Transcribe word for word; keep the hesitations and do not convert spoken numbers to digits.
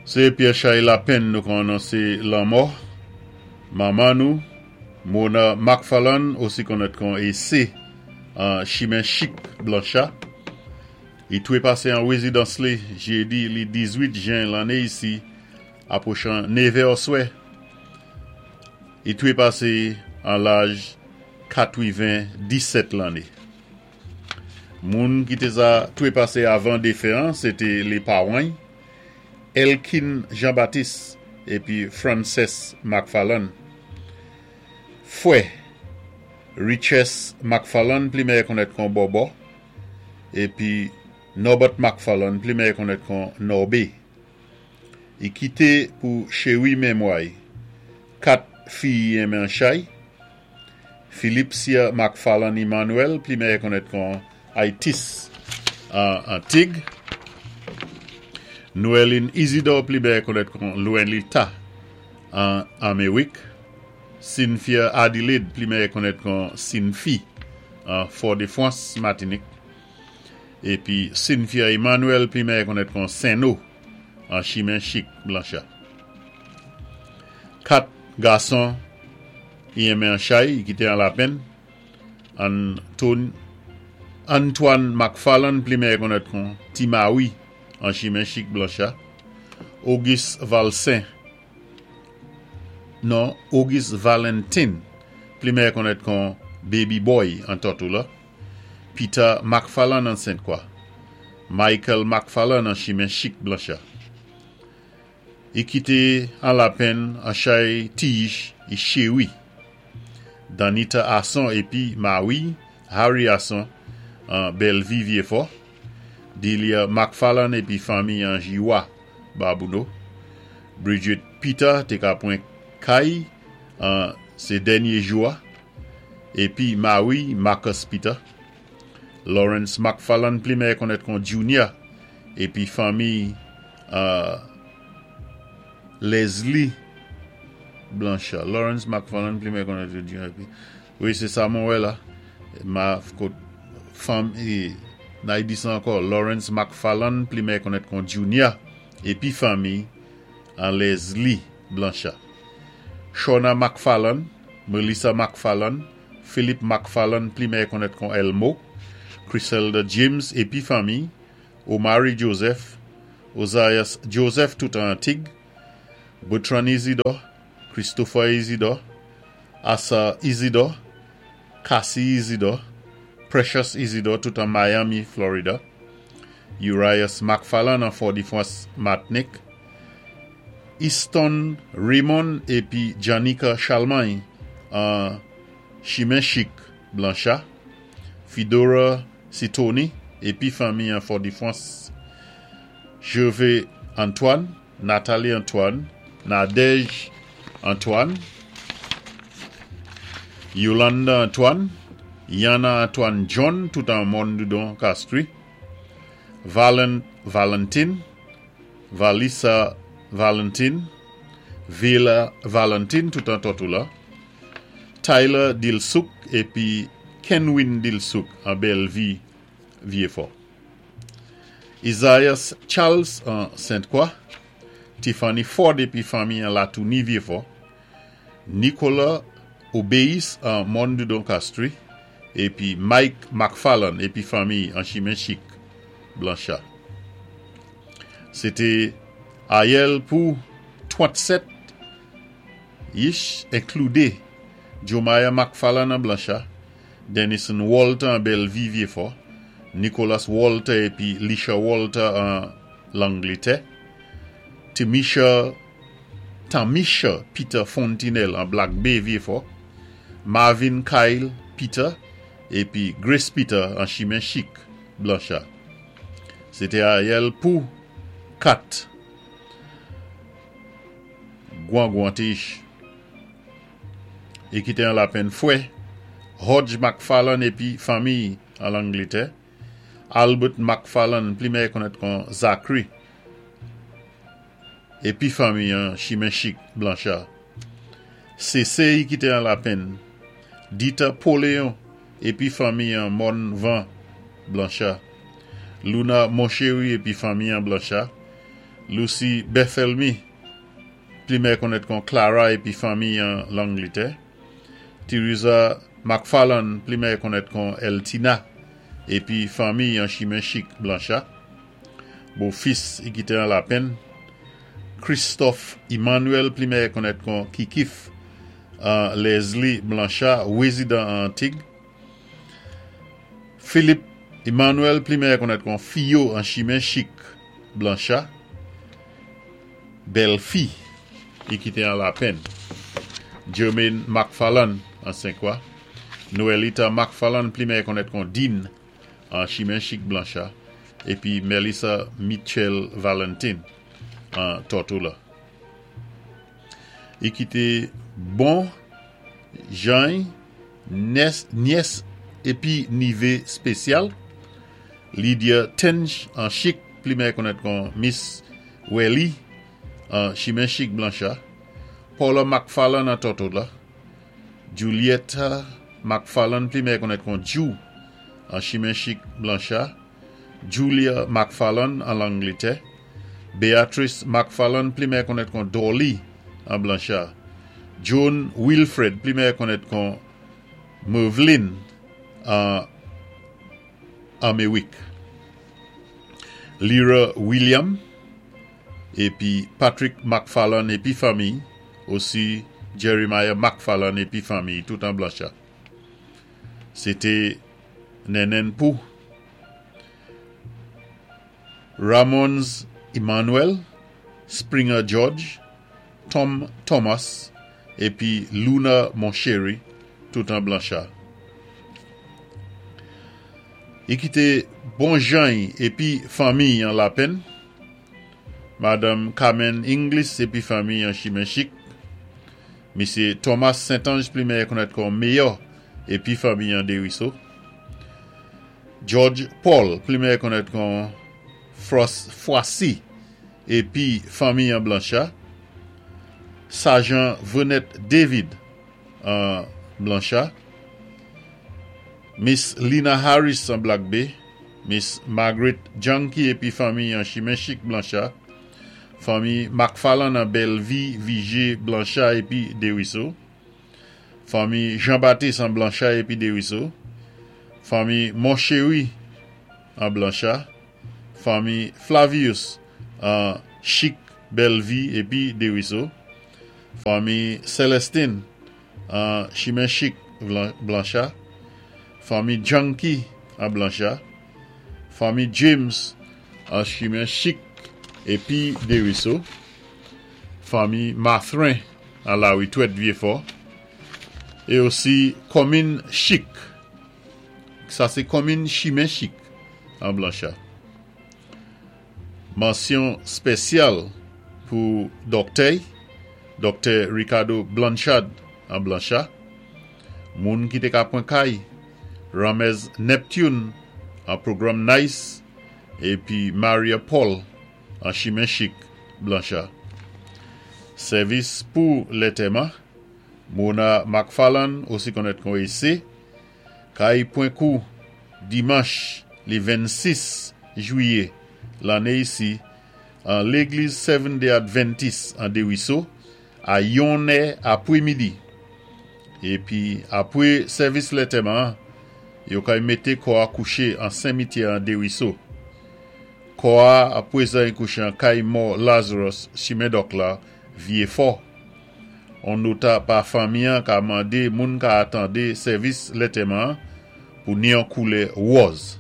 Sé Pierre Chay Lapenn nou kon anonsé lanmò. Manman nou, Mona McFarlane, osi konnèt kon E C, an Chimen Chik Blancha. I touwé pasé an wézidans li, jédi li diz-wit jen lanné isi, apwochan nèvè oswè. I touwé pasé an laj katwenn-disèt lanné. Moun ki té sa touwé pasé avan défen an, sé té lé pawan, Elkin Jean-Baptiste épi Frances McFarlane. Fwè, Riches McFarlane, pli mèyè konnèt kon Bobo, épi Norbert McFarlane, pli mèyè konnèt kon Norbé. I kité pou chéwi mémway, kat fiy i enmen chay, Philipsia McFarlane Emmanuel, pli mèyè konnèt kon Aitis an Antig, Noeline Isidore, pli mèyè konnèt kon Louenlita an Améwik, Cynthia Adelaide, pli mèyè konnèt kon Sinfi an Fort-de-France, Matinik, épi Cynthia Emmanuel, pli mèyè konnèt kon Seno an Chimen Chik Blancha. Kat gason i enmen an chay, i kité an lapenn, Anton, Antoine McFarlane, pli mèyè konnèt kon Timawi an Chimen Chik Blancha, Auguste Valsin, non, Auguste Valentin, pli mèyè konnèt kon Baby Boy an Tortola, Peter McFarlane an Sainte-Croix, Michael McFarlane an Chimen Chik Blancha. I kité an lapenn an chay tiyich i chéwi. Danita Asson épi Mawi, Harry Asson an Bellevue Vieux-Fort, Delia McFarlane épi fanmi an Jiwa Babouno, Bridget Peter té ka pwan kay an sé dènyé jou-a, épi Mawi Marcus Peter, Lawrence McFarlane, pli mèyè konnèt kon Junior, épi fanmi uh, Leslie Blanchard. Lawrence McFarlane, pli mèyè konnèt kon Junior. Épi, wi, sé sa mwen wè la. Ma kot fanmi, nay di sa ankò, Lawrence McFarlane, pli mèyè konnèt kon Junior, épi fanmi an Leslie Blanchard. Shauna McFarlane, Melissa McFarlane, Philip McFarlane, pli mèyè konnèt kon Elmo, Chriselda James épi fanmi, Omari Joseph, Ozias Joseph tout an Antig, Bertrand Isidore, Christopher Isidore, Asa Isidore, Cassie Isidore, Precious Isidore tout an Miami, Florida, Urias McFarlane an Fort-de-France, Martinique, Easton Raymond épi Janika Chalmagne an Chimen Chik Blancha, Fidora Sitoni épi fanmi an Fort-de-France, Gervais Antoine, Nathalie Antoine, Nadège Antoine, Yolanda Antoine, Yana Antoine John, tout an Mondudon Castries, Valen, Valentine, Valissa Valentine, Villa Valentine, tout an Tortola, Tyler Dilsouk épi Kenwin Dilsouk an Bellevue, Vieux-Fort. Isaias Charles an Sainte-Croix, Tiffany Ford épi fanmi an Latouni Vieux-Fort, Nicolas Obéis an Mondudon Castries, épi Mike McFarlane épi fanmi an Chimen Chik Blancha. Sé té ayèl pou trannsèt yich enkloudé Jomaya McFarlane an Blancha, Denison Walter an Bellevue Vieux-Fort, Nicholas Walter épi Lisha Walter an Langlétè, Timisha Tamisha Peter Fontinelle an Black Bay Vieux-Fort, Marvin Kyle Peter épi Grace Peter an Chimen Chik Blancha. Sé té ayèl pou kat Gwangwantich. I kité an lapenn fwè, Hodge McFarlane épi fanmi an Langlétè, Albert McFarlane, pli mèyè konnèt kon Zachary, épi fanmi an Chimen Chik Blancha. C C i kité an lapenn, Dita Poléon épi fanmi an Monvan Blancha. Luna Monchery épi fanmi an Blancha. Lucy Bethelmy, pli mèyè konnèt kon Clara épi fanmi an Langlétè. Teresa McFarland, pli mèyè konnèt kon Eltina, épi fanmi an Chimen Chik Blancha. Bofis i kité an Lapenn. Christophe Emmanuel, pli mèyè konnèt kon Kikif, an Leslie Blancha, wézidan an Antig. Philippe Emmanuel, pli mèyè konnèt kon Fio an Chimen Chik Blancha. Bèlfi, i kité an Lapenn. Jermaine McFarland an Senkwa. Noelita McFarland, pli mèyè konnèt kon Dean an Chimen Chik Blancha. Épi Melissa Mitchell Valentin an Tortola. I kité bon jany, nyès épi nivé spésyal. Lydia Tench an Chik, pli mèyè konnèt kon Miss Welly an Chimen Chik Blancha. Paula McFarland an Tortola. Julietta McFarland, pli mèyè konnèt kon Ju an Chimen Chik Blancha. Julia McFarland an Langlétè. Beatrice McFarland, pli mèyè konnèt kon Dolly an Blancha. Joan Wilfred, pli mèyè konnèt kon Mervlin an Amewick. Lyra William épi Patrick McFarland épi fanmi, osi Jeremiah McFarland épi fanmi, tout an Blancha. Sé té nènèn pou Ramons Emmanuel, Springer George, Tom Thomas épi Luna Monchery, tout an Blancha. I kité bon jany épi fanmi an Lapenn, Madame Carmen Inglis épi fanmi an Chimen Chik, Misyé Thomas Saint-Ange, pli mèyè konnèt kon Mayor épi fanmi an Dériso, George Paul, pli mèyè konnèt kon Froissy épi fanmi an Blancha, Sajan Venette David an Blancha, Miss Lina Harris an Black Bay, Miss Margaret Junkie épi fanmi an Chimen Chik Blancha, fanmi McFarland an Bellevue, Vigé Blancha épi Dériso, fanmi Jean-Baptiste an Blancha épi Dériso, fanmi Monchery an Blancha, fanmi Flavius an Chik Bellevue épi Dériso, fanmi Celestine an Chimen Chik Blancha, fanmi Junkie an Blancha, fanmi James an Chimen Chik épi Dériso, fanmi Mathrin an Laritwèt Vieux-Fort, é osi komin Chik, sa sé komin Chimen Chik an Blancha. Mansyon spésyal pou dòktè, Dòktè Ricardo Blanchard an Blancha, moun ki té ka pwan kay, Ramez Neptune an pwogram Nice, épi Maria Paul an Chimen Chik Blancha. Sèvis pou lantèman, Mona McFarland, osi konnèt kon E C, kay pwan kou dimanch li vennsis jwiyé lanné isi an légliz Seventh Day Adventist an Dériso a yon è apwé midi. Épi apwé sèvis lantèman, yo kay mété kò a kouché an simityè an Dériso. Kò a apwé sa kouché an kay mò Lazarus Chimen Dòk la Vieux-Fort. On nota pa fanmi an ka mandé moun ka atandé sèvis lantèman pou ni an koulè wòz.